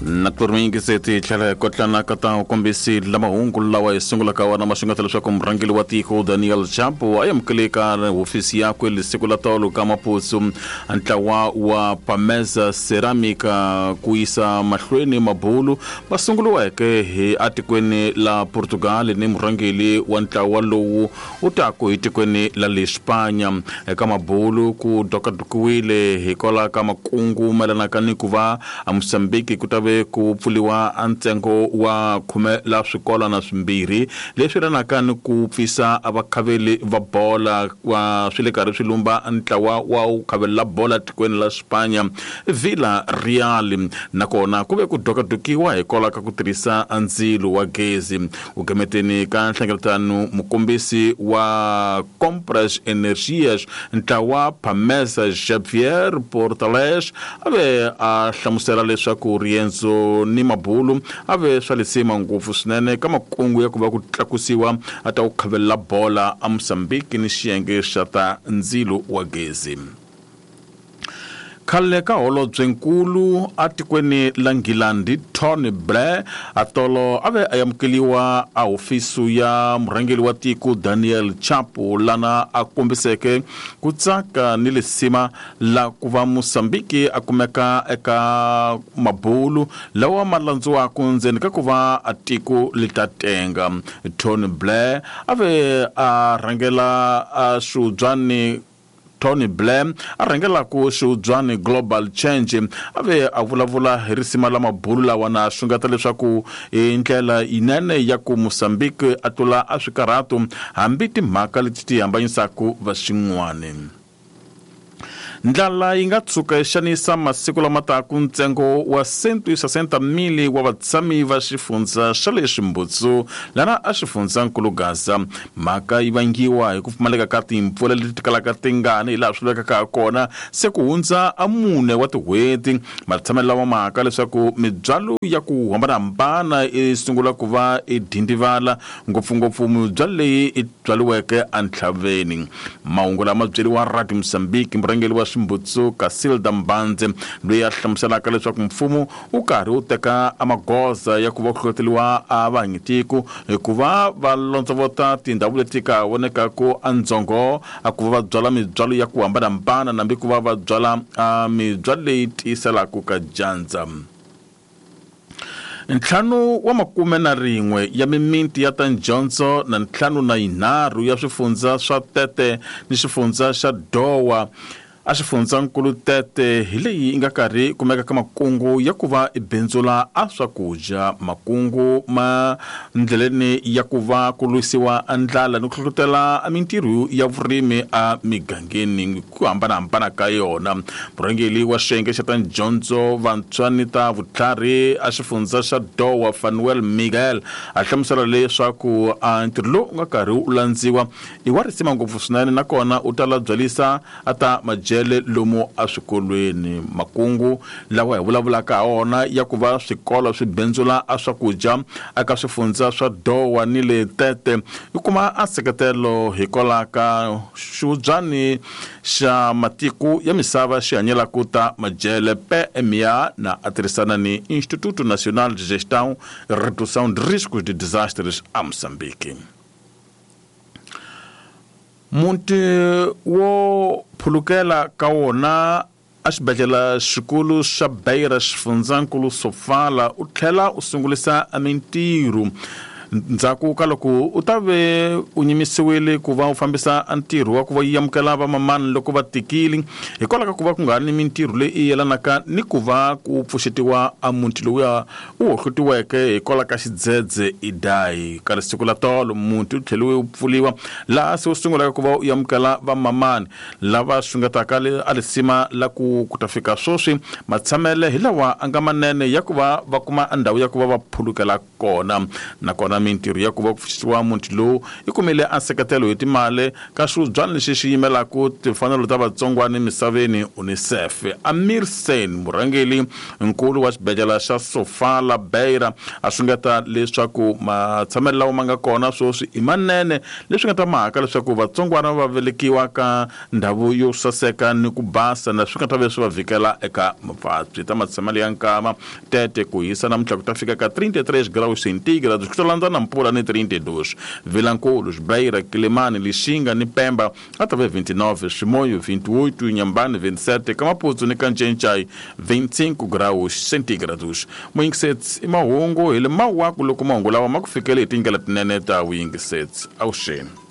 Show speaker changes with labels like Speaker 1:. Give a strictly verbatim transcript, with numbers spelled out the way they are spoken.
Speaker 1: Nakurmingise tlhela kotlana ka ta kombisi la mahungu lawa hi sungulaka wona ma xungeta leswaku murhangeri wa tiko Daniel Chapo a amukele ka hofisi yakwe lisiku la tolo ka Maputo ntlawa wa Pamesa Ceramica ku yisa mahlweni mabulu va sunguriweke hi atikweni la Portugal ni murhangeri wa ntlawa lowu u taku hi tikweni la le Spanya. Eka mabulu ku dokadokiwile hikwalaho ka makungu mayelanaka ni ku va a Mozambique ku ta ve ku pfuliwa a ntsengo wa khume la swikolwana swimbirhi leswi yelanaka ni ku pfisa a vakhaveli va bola wa swi le karhi swi lumba ntlawa wa ku khavelela bola tikweni la Spanya Villa Real. Nakona ku ve ku dokadokiwa hikwalaho ka ku tirhisa ndzilo wa gezi. U gemeteni ka nhlengeletano mukombisi wa Compras Energias ntlawa Pamesa Xavier Portales a ve a hlamusela leswaku riendzo ni mabulu a ve swa lisima ngopfu swinene ka makungu ya ku va ku tlakusiwa a ta ku khavelela bola a Mozambique ni xiyenge xa ta ndzilo wa gezi. Khale ka holobyenkulu atikweni la Nghilandi Tony Blair atolo a ve a amukeliwa a hofisi ya murhangeri wa tiko Daniel Chapo lana a kombiseke ku tsaka ni lisima la ku va Mozambique a kumeka eka mabulu lawa ma landziwaka ndzeni ka ku va a tiko li ta tenga. Tony Blair a ve a rhangela a swihubyani Tony Blair a rhangelaku xihubyani Global Change a ve a vulavula hi risima la mabulu lawa na xungeta leswaku i ndlela yinene ya ku Mozambique a tlula a swikarhato hambi timhaka leti ti hambanyisaka va xin'wani. Ndlala yi nga tshuka yi xanisa masiku lama taka ntsengo wa cento e sessanta mil wa vatshami va xifundza xa le Ximbutsu lana a xifundzankulu Gaza. Mhaka yi vangiwa hi ku pfumaleka ka timpfula leti ti kalaka tingani hi laha swi vekaka ha kona se ku hundza a mune wa tin'hweti. Matshamelo lawa mhaka leswaku mibyalo ya ku hambanahambana yi sungula ku va i dindivala ngopfungopfu mibyalo leyi i byaliweke entlhaveni. Mahungu lama byeriwa Radio Mozambique murhangeri wa Ximbutsu Casilda Mbanze loyi a hlamuselaka leswaku mfumo wu karhi wu teka magoza ya ku va ku hlohloteriwa a vahanyitiko hikuva va londzovota tindhawu leti ka vonekaku endzhongo a ku va va byala mibyalo ya ku hambanahambana nambi ku va va byala mibyalo leyi tiyiselaka ka dyandza. Ntlhanu wa makume na rin'we ya mimiti ya ta dyondzo na ntlhanu na yinharhu ya swifundza swa Tete ni xifundza xa Dowa a xifundzankulu Tete hi leyi yi nga karhi kumeka ka makungu ya ku va i bindzula a swakudya. Makungu ma ndleleni ya ku va ku lwisiwa ndlala ni ku hlohlotela mintirho ya vurimi a migangeni ku hambanahambana ka yona. Murhangeri wa xiyenge xa ta dyondzo vantshwa ni ta vutlhari a xifundza xa Dowa Fanuel Miguel a hlamusela leswaku a ntirho lowu nga karhi wu landziwa i wa risima ngopfu swinene nakona u ta la byalisa a ta jele lomu eswikolweni. Makungu lawa hi vulavulaka ha wona ya ku va swikolo swi bindzula a swakudya eka swifundza swa Dowa ni le Tete yi kuma a nseketelo hikwalaho ka xihubyani xa matiko ya misava xi hanyelaka ta majele P M A na a tirhisana ni Instituto Nacional de Gestão e Redução de Riscos de Desastres a Moçambique. Muti wo phulukela ka wona a xibedhlele xikulu xa Beira xifundzankulu Sofala u tlhela u sungulisa mintirho ndzhaku ka loko u ta ve u nyimisiwile ku va u fambisa ntirho wa ku va yi amukela vamamani loko va tikile hikwalaho ka ku va ku nga ri ni mintirho leyi yelanaka ni ku va ku pfuxetiwa a muti lowuya u hohlotiweke hikwalaho ka xidzedze Idai. Ka siku la tolo muti wu tlheliwe wu pfuliwa laha se wu sungulaka ku va u amukela vamamani lava xungetaka a lisima la ku ku ta fika sweswi matshamele hi lawa a nga manene ya ku va va kuma ndhawu ya ku va va phulukela kona. Nakona Naswona mintirho ya ku va ku pfuxetiwa muti lowu yi kumile a nseketelo hi timali ka swibyani lexi xi yimelaka timfanelo ta vatsongwana emisaveni UNICEF. Amir Sen, murhangeri nkulu wa xibedhlele xa Sofala Beira, a xungeta leswaku matshamelo lawa ma nga kona sweswi i manene, leswi nga ta mhaka leswaku vatsongwana va velekiwa ka ndhawu yo saseka ni ku basa, na swi nga ta ve swi va vhikela eka mavabyi. Ta matshamelo ya nkama tete ku hisa namuntlha ku ta fika ka trinta e três graus centígrados, ku ta landza na mpfula ni trinta e dois. Vilankulo, Beira, Quelimane, Lixinga ni Pemba a ta ve vinte e nove, Chimoio vinte e oito, Inhambane vinte e sete, Kamaputu ni Kancencai vinte e cinco graus centígrados. Muyingiseti i mahungu hi le mawaku loko mahungu lawa ma ku fikele hi tindlela tinene ta vuyingiseti. Avuxeni.